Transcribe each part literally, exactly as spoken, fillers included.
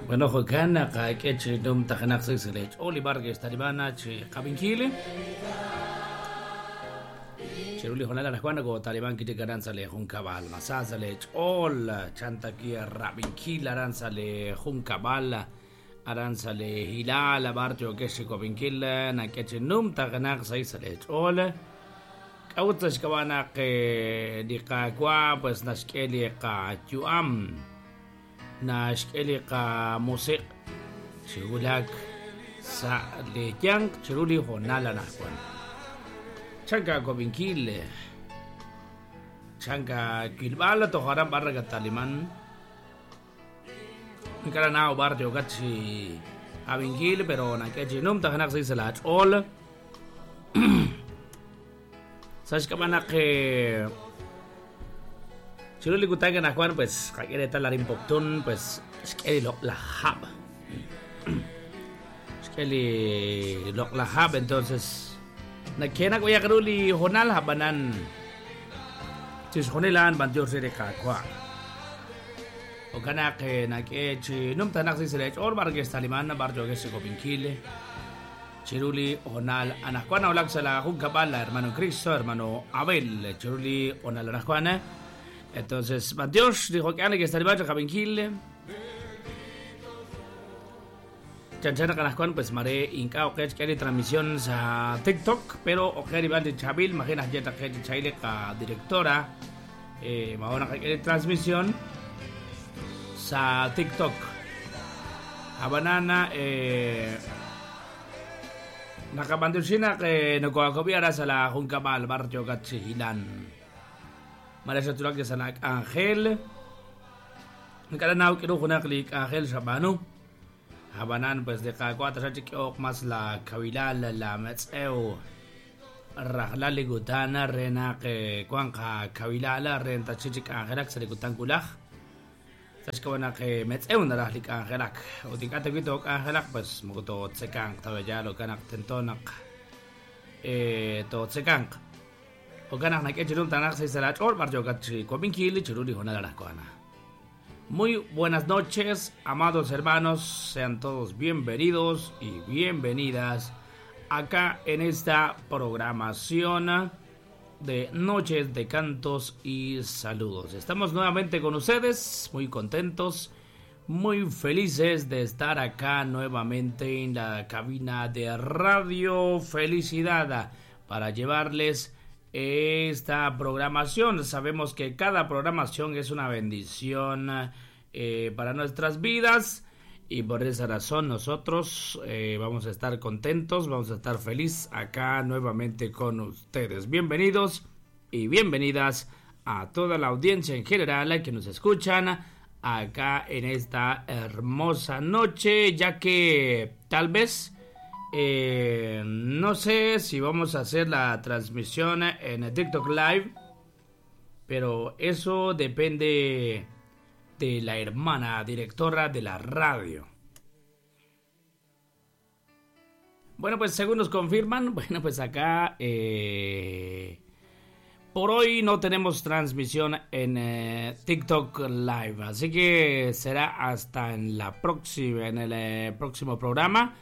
Bueno, jo'kan naq k'e chi numtajenaq sa' sa' lech'ool li barrio Talibana chi qabinkil. Chiru li honal anajwan ko Taliban kitik aran sa' le junkab'al masa sa' lech'ool chantaki rabinkil aran sa' le junkab'al aran sa' le hilal barrio kex kobinkil nak'e chi numtajenaq sa' sa' lech'ool. K'a'ut sa' xk'ab'anaq li qaawa' pues naxk'e li qayu'am naxk'e li qamusiq chiwulak sa' li yanq chiru li honal anajwan. Chanka kobinkil chanka kilb'al toj aran barra Taliman nkaranao barrio kachi abinkil pero nak'e chi numtajenaq sa' sa' lach'ool. Sa' xk'ab'anaq chiru li kutan anajwan pues qak'e reetal arin Poptún pues xk'e li loq'laj hab'. Xk'e li loq'laj hab' entonces nakenak oyaq ru li honal hab'anan chixjunil a'an b'antiox re li Qaawa'. Jo'kan naq nak'e chi numtajenaq sa' lech'ool barrio Taliman barrio Kobinkil chiru li honal anajwan nawulak sa' la junkab'al la hermano Cristo hermano Abel chiru li honal anajwan. Entonces, b'antiox li jo'kan que Taliban qabinkil. Chanchana anajwan pues mare inka oqech k'e li transmisión sa TikTok pero oqe rib'al li Chabil imagina yeta qe chayle qa directora eh mahora k'e li transmisión sa TikTok. Habanana eh nakab'antioxina que nokoakobi ara sa la junkab'al barrio Kachihilan. Mara sa tulak sa nak Ángel. Nkaranao k'eru junaq li Ángel xab'anu. Habanan pues de qaawa' taxa chik'oq mas la kawilal la metz'ew rajlal li kutan re naq wan qakawilal re tachi chik Ángelak sa li kutan kulaj. Sa xk'ab'anaq metz'ew naraj li Ángelak. Ut ink'a' tawi toq Ángelak pues moko tootzekanq tawaya lo kanaq tento naq eh tootzekanq. Jo'kan naq nak'e chiru tanaq sa' lach'ool barrio Kachi chiru li honal anajwan. Muy buenas noches, amados hermanos, sean todos bienvenidos y bienvenidas acá en esta programación de Noches de Cantos y Saludos. Estamos nuevamente con ustedes, muy contentos, muy felices de estar acá nuevamente en la cabina de Radio Felicidad para llevarles esta programación. Sabemos que cada programación es una bendición eh, para nuestras vidas y por esa razón nosotros eh, vamos a estar contentos, vamos a estar feliz acá nuevamente con ustedes. Bienvenidos y bienvenidas a toda la audiencia en general que nos escuchan acá en esta hermosa noche, ya que tal vez Eh, no sé si vamos a hacer la transmisión en TikTok Live, pero eso depende de la hermana directora de la radio. Bueno, pues según nos confirman, bueno, pues acá eh, por hoy no tenemos transmisión en eh, TikTok Live, así que será hasta en la próxima, en el eh, próximo programa,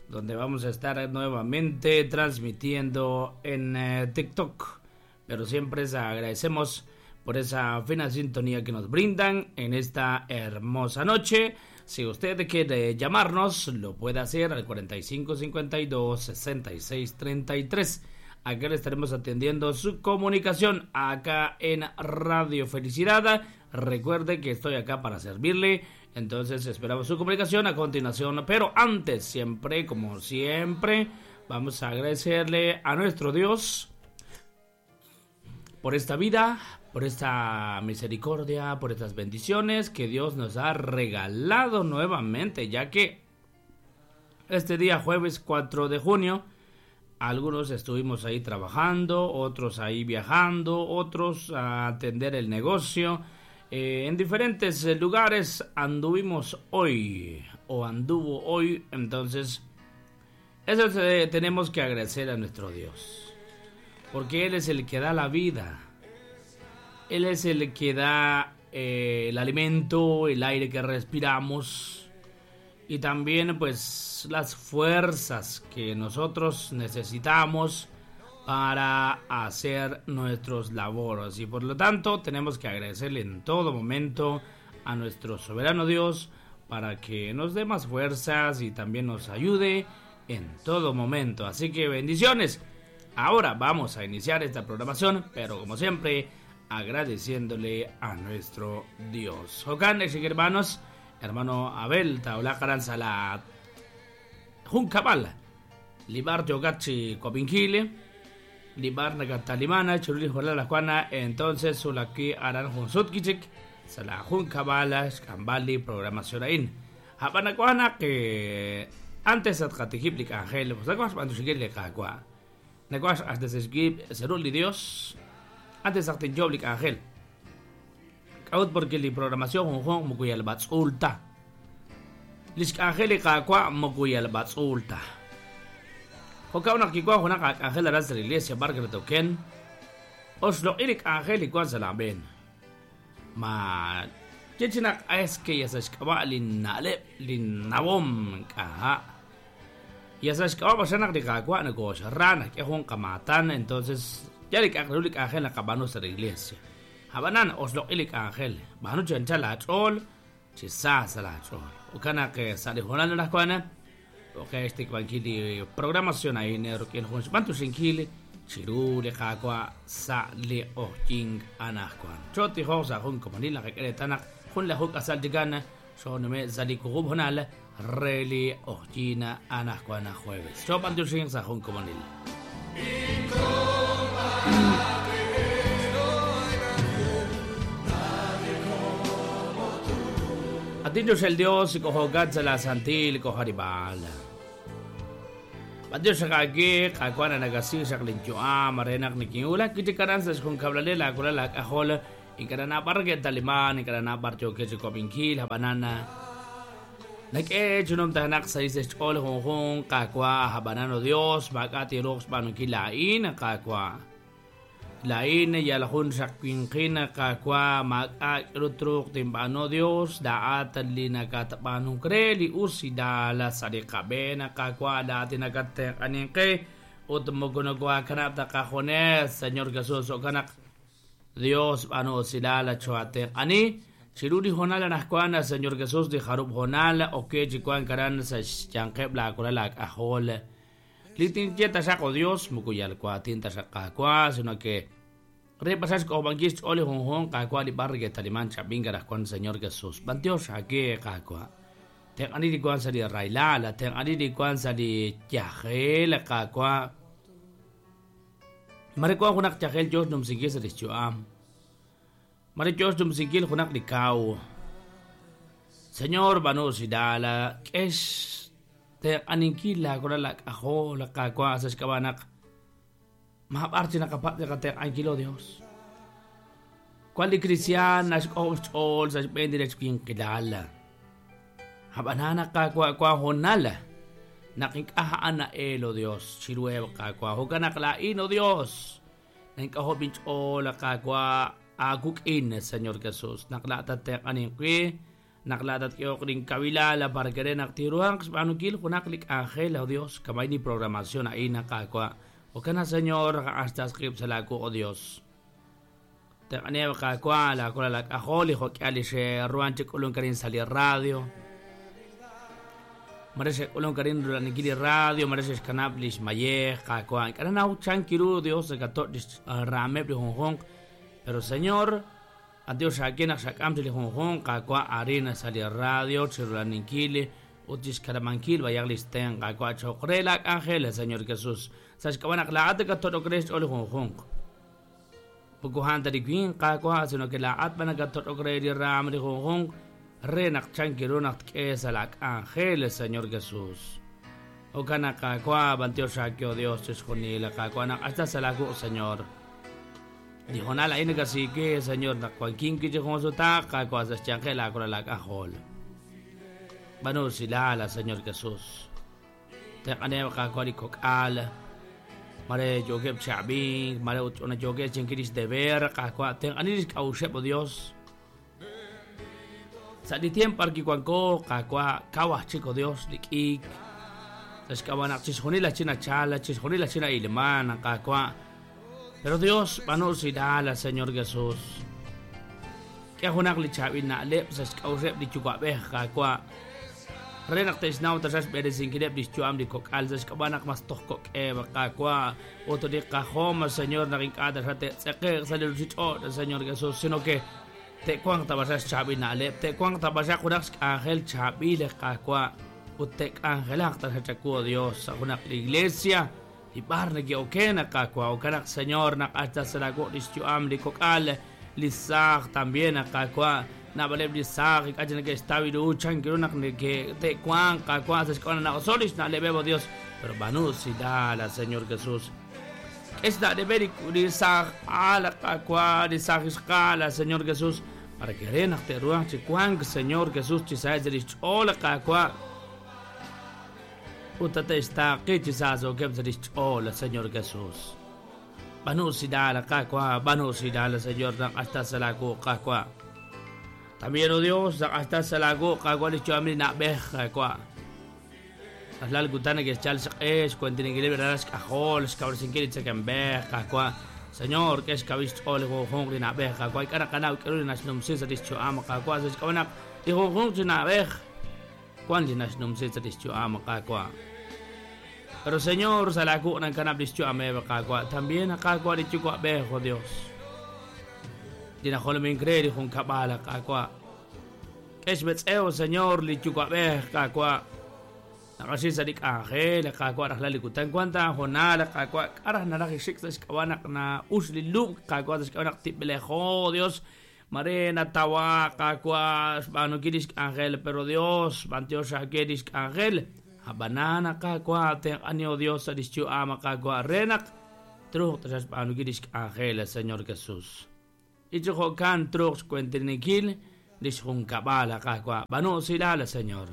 donde vamos a estar nuevamente transmitiendo en eh, TikTok. Pero siempre les agradecemos por esa fina sintonía que nos brindan en esta hermosa noche. Si usted quiere llamarnos, lo puede hacer al cuarenta y cinco cincuenta y dos sesenta y seis treinta y tres. Acá le estaremos atendiendo su comunicación acá en Radio Felicidad. Recuerde que estoy acá para servirle. Entonces esperamos su comunicación a continuación. Pero antes, siempre, como siempre, vamos a agradecerle a nuestro Dios por esta vida, por esta misericordia, por estas bendiciones que Dios nos ha regalado nuevamente, ya que este día jueves cuatro de junio, algunos estuvimos ahí trabajando, otros ahí viajando, otros a atender el negocio. Eh, en diferentes lugares anduvimos hoy, o anduvo hoy. Entonces, eso eh, tenemos que agradecer a nuestro Dios, porque Él es el que da la vida. Él es el que da eh, el alimento, el aire que respiramos. y también pues las fuerzas que nosotros necesitamos para hacer nuestros labores. Y por lo tanto tenemos que agradecerle en todo momento a nuestro soberano Dios para que nos dé más fuerzas y también nos ayude en todo momento. Así que bendiciones. Ahora vamos a iniciar esta programación, pero como siempre, agradeciéndole a nuestro Dios. Jokan, hermanos, hermano Abel, Taula Karanza, la Juncabal, Libar Yogachi Copinkile, Libar Nagatalimana, Churuli Jola la Juana, entonces Sulaki Aran Junsutkichik, Sala Juncabala, Skambali, programación ain. Habanacuana que antes atqatijiplik ángel, pues la cuando cagua. Nacuas hasta se seruli Dios, antes atijoblik ángel. Kaut porque li programación junjun mukuyal batzulta. Lisk ángel cagua mukuyal batzulta. Jokauna kikua junaka ángel aras de la iglesia barker token. Oslo irik ángel y cuan salaben. Ma chichinak es que ya se lin nale lin nawom kaha. Ya sabes que vamos a na negocio rana que jun kamatan, entonces ya le ángel ángel la cabanos de la iglesia. Habanan oslo ilik ángel, banu chanchala chol, chisasa la chol. Okana que sale jonando las cuana, o que este kili programación ahí negro que el jun bantu sinkili, chirule kakwa sa le ojing anakwan. Choti hosa jun komanila que queretana, jun la juk asal digana, son me zalikugub honal. Reli Ojina Anascuana jueves. Chopan Dulcin Sajón Comonil. Atillos el Dios y cojo la Santil y cojo Aribal. Adiós aquí, Cacuana Nagasi, Shaklinchoa, Marena Nikiula, Kitikaranzas con Cablalela, Curala, Cajola, y Carana Parque Talimán, y Carana Barcho Quechicopinkil, Habanana. Nake chunum tanak sa ises chol junjun kakwa habanano Dios bakati rox banukilain kakwa lain yalhun shakwinqina kakwa maka rutruk timbano Dios daat linakatbanun kreli usidala sarikabena kakwa daati nakatek aninke utmugunugwa kanap takajones Señor Jesús okanak Dios bano usidala chuatek ani Chiruri honala nascuana, Señor Jesús de Jarub honala, o que chicuan caran sa chanqueb la corala ajol. Litin yeta saco Dios, mukuyal cuatinta sacacua, sino que repasas con banquis ole jonjon, cacua li bargue talimán chapinga cuan Señor Jesús. Bantios a que cacua. Ten aniri cuan sali railala, ten aniri cuan sali yajel cacua. Marecua junak yajel Dios num singues el chuam. Marichos dumsikil junak likau. Señor banu sidala, es te aninkila korala ajo la kakwa sa skabanak. Mahaparti nakapat de kate ankilo Dios. Cual di cristiana os ol sa bendirech kinkilala. Habanana kakwa kwa honala. Nakikahaan na elo Dios, chirueb kakwa hukanak laino Dios. Nangkaho binch ol kakwa Agukin, Señor Jesús. Naklatat te aninqui, naklatat kiokrin kabilala para querer naktiruang panukil junaklik ángel, oh Dios, kamay ni programación ahí nakakwa. O kana Señor, hasta script salaku, oh Dios. Te aneb kakwa, la kola la ajoli, jokiali she ruanche kulun karin sali radio. Marese kulun karin rulanikili radio, marese kanablis mayej kakwa. Karana uchankiru, Dios, gato ramebli honhong. Pero Señor, a Dios a quien sacamte junjun, kakwa arena sali radio, chirulaninkili, utis karamanquil, vayaglisten, kakwa chokrela, ángeles, Señor Jesús. Sashkawanak la ataka todo crees oli junjun. Pukuhanta di quin, kakwa, sino que la atmanaka todo creer ram de junjun, renak chankirunak kesalak ángeles, Señor Jesús. Okana kakwa, bantio shakio Dios, esconila, kakwa, hasta salaku, Señor. Dijo nala ina kasi que Señor na cualquier que con su taca cosas chanquela con la cajol. Bano sila la Señor Jesús. Te aneo ka kwali kokal. Mare joge chabin, mare una joge chinkiris de ver ka kwa te aniris kaushe po Dios. Sa' li tiempo arkiwanko Qaawa' kawaj chik, oh Dios, li k'iik sa' xk'ab'a' chixjunil la china chala, chixjunil la china ilman, Qaawa'. Pero Dios, b'aanu usilal, Señor Jesús. K'e junaq li chaab'il na'leb' sa' xk'a'uxeb' li yuwa'b'ej, Qaawa'. Re naq te'xnaw taxaq xb'eresinkileb' li xyu'am li kok'al sa' xk'ab'a' naq mas toj kok'eb', Qaawa'. Ut li qajom, Señor, naq ink'a' taxaq te'tz'eqe'q sa' li ruuchich'och', Señor Jesús, sino que te'wanq tabaxaq xchaab'il na'leb', te'wanq tabaxaq junaq xk'anjel chaab'il, Qaawa'. Ut te'k'anjelaq taxaq chaku, Dios, sa' junaq li iglesia li b'ar neke'oken, Qaawa'. Okanaq, Señor, naq hasta sa' laawo' li xyu'am li kok'al, li saaj también, Qaawa'. Naab'aleb' li saaj ink'a' chik neke'xtaw ru chan ru naq neke'te'wanq, Qaawa', sa' xk'ab'a' naq na'oso' li xna'leb'eb', oh Dios. Pero b'aanu usilal, Señor Jesús. K'e xna'leb'eb' li saaj aal, Qaawa', li saaj ixqaal, Señor Jesús, para que re naq te'ruhanq chi wank, Señor Jesús, chi saheb' sa' li xch'ool, Qaawa'. Ut tate'xtaaqi chi saasokeb' sa' li xch'ool, Señor Jesús. B'aanu usilal, Qaawa', b'aanu usilal, Señor, naq hasta sa' laawu, Qaawa'. También, oh Dios, naq hasta sa' laawu, Qaawa', li xyu'am li na'b'ej, Qaawa'. Rajlal kutan neke'xchal xq'e, xkuentininkileb' ralal xk'ajol, xkawresinkil li tzekemb'ej, Qaawa'. Señor, k'e xkawil xch'ool li junjunq li na'b'ej, Qaawa'. Ink'a' naqanaw k'aru li naxnumsi sa' li xyu'am, Qaawa'. Sa' xk'ab'a' naq li junjunq chi na'b'ej wan li naxnumsi sa' li xyu'am, Qaawa'. Pero, Señor, sa' laawu nankanab' li xyu'ameb', Qaawa'. También, Qaawa', li yuwa'b'ej, oh Dios. Li najolomink re li junkab'al, Qaawa'. K'e xmetz'ew, Señor, li yuwa'b'ej, Qaawa'. Naqaxi sa' li k'anjel, Qaawa', rajlal li kutan wan ta honal, Qaawa'. K'a' raj naraj ixik sa' xk'ab'a' naq na'ux li lub', Qaawa', sa' xk'ab'a' naq tib'elejo, Dios. Mare natawa, Qaawa', xb'aanunkil li xk'anjel, pero Dios, b'antiox ake li xk'anjel. Ab'anan, Qaawa', tenq'ani, oh Dios, sa' li xyu'am, Qaawa', re naq truuq taxaq xb'aanunkil li xk'anjel, Señor Jesús. Ichi jo'kan truuq xkuentininkil li xjunkab'al, Qaawa'. B'aanu usilal, Señor.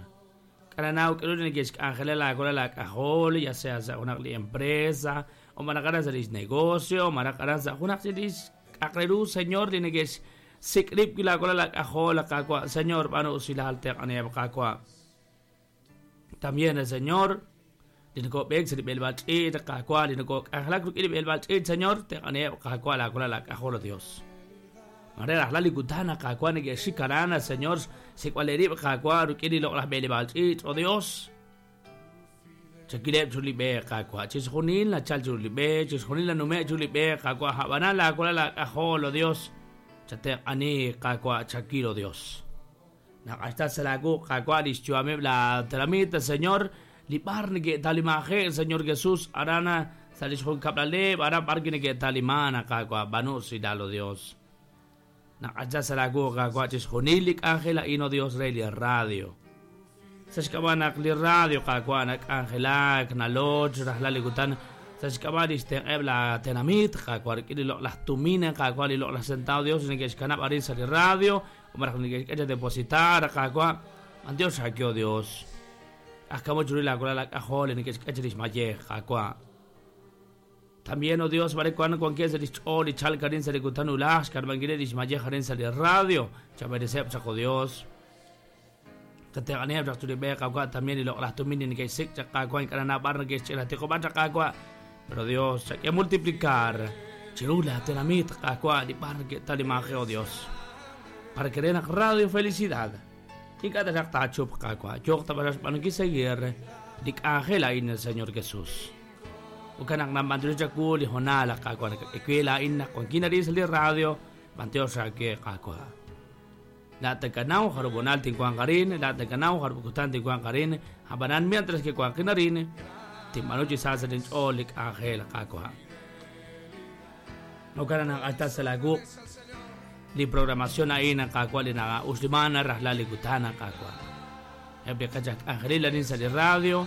K'ananaw k'aru li neke'xk'anjela laakolal laak'ajol, ya sea sa' junaq li empresa, o maraj aran sa' lix negocio, o maraj aran sa' junaq chi lix k'aqre ru, Señor, li neke'xsik' rib' laakolal laak'ajol, Qaawa'. Señor, b'aanu usilal, tenq'aniheb', Qaawa'. También el Señor, li nokob'eek sa' li b'elb'al ch'iich', Qaawa', li nokok'anjelak rik'in li b'elb'al ch'iich', Señor, tenq'aniheb', Qaawa', laakolal laak'ajol, Dios. Mare rajlal li kutan, Qaawa', neke'xik aran, Señor, sik'b'al rib', Qaawa', rik'in li loq'laj b'eleb'al ch'iich', oh Dios. Chakileb' chu li b'e, Qaawa', chixjunil nachal chu li b'e, chixjunil nanume' chu li b'e, Qaawa', hab'anan laakolal laak'ajol, oh Dios. Chatenq'ani, Qaawa', chakil, oh Dios. Naq hasta sa' laawu, Qaawa', li xyu'ameb' la tenamit, Señor, li b'ar neke'talimaje', Señor Jesús, aran sa' li xjunkab'laleb', aran b'ar neke'taliman, Qaawa', b'aanu usilal, oh Dios. Naq hasta sa' laawu, Qaawa', chixjunil li k'anjel a'in, oh Dios, re li radio. Sa' xk'ab'a' naq li radio, Qaawa', nak'anjelak, naloch, rajlal li kutan, sa' xk'ab'a' li xtenq'eb' la tenamit, Qaawa', rik'in li loq'laj tumin, Qaawa', li loq'laj centavo, Dios, neke'xkanab' arin sa' li radio, o maraj neke'xk'e depositar, Qaawa', Dios xakyo, Dios. Ajkamo churi laakolal laak'ajol, neke'xk'e lix mayej, Qaawa'. También, oh Dios, mare cuando cualquier sa' lix ch'ool li chalk arin sa' li kutan ulaj, xk'arb'ankil lix mayej arin sa' li radio, chabereseb' chaq, oh Dios. Tatenq'aniheb' chaq chu li b'e, Qaawa', también li loq'laj tumin li neke'xsik' chaq, Qaawa', ink'a' naab'al neke'xch'ila tiqob'an chaq, Qaawa'. Pero Dios, chak'e multiplicar chiru la tenamit, Qaawa', li b'ar neke'talimaje, oh Dios. Para que den Radio Felicidad. Ink'a' taxaq taachup, Qaawa'. Yooq tab'axaq xb'aanunkil seguir li k'anjel a'in, el Señor Jesús. Ukanaq namb'antiox chaku li honal, Qaawa', nak'ekuela a'in naq wankin arin sa' li radio, b'antiox ake, Qaawa'. La takanaw jarubonal tinkuan qarin, la takanaw jarubukutan tinkuan qarin, habanan mientras que kuan arin, timanuchi sa sa tinch'ool li k'anjel, Qaawa'. Ukanaq hasta sa lagu li programación a'in, Qaawa', li na'uxlimana rajlal li kutan, Qaawa'. Eb' li qachaq k'anjelil arin sa' li radio,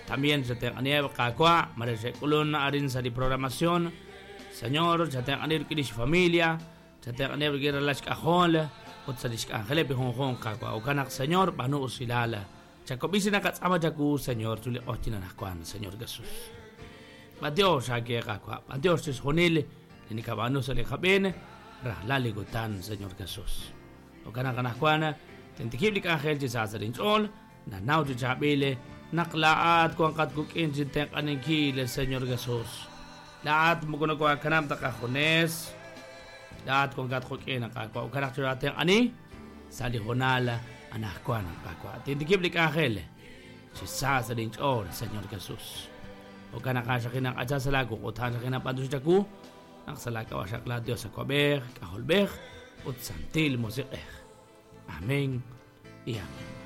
también se tenq'aniheb', Qaawa', mare xe'k'ulun arin sa' li programación. Señor, chatenq'aniheb' rik'in lix familia, chatenq'aniheb' rik'in ralal xk'ajol, ut sa' lix k'anjeleb' li junjunq, Qaawa'. Ukanaq, Señor, b'aanu usilal. Chakob'isi naqatz'ama chaku, Señor, chu li q'ojyin anaqwan, Señor Jesús. B'antiox ake, Qaawa', b'antiox chixjunil li nikab'aanu sa' li qab'een, rajlal li kutan, Señor Jesús. Ukanaq anaqwan, Tintikib' li k'anjel chi sa sa' linch'ool, nanaw chi chaab'il naq laa'at wanqat wik'in chi tenq'aninkil, Señor Jesús. Laa'at moko nokoakanab' ta qajunes, laa'at wankat quk'in Qaawa', jo'kan naq choo'aatenq'ani sa' li hoonal anaqwan Qaawa'. Tintikib' li k'anjel chi sa sa' linch'ool, Señor Jesús. Jo'kan naq a'an xaqin sa' laawu ut a'an xaqin b'antiox chawu naq sa' laak'ab'a' xaq la Dios Awab'ej, K'ajolb'ej ut Santil Musiq'ej. Amén y amén.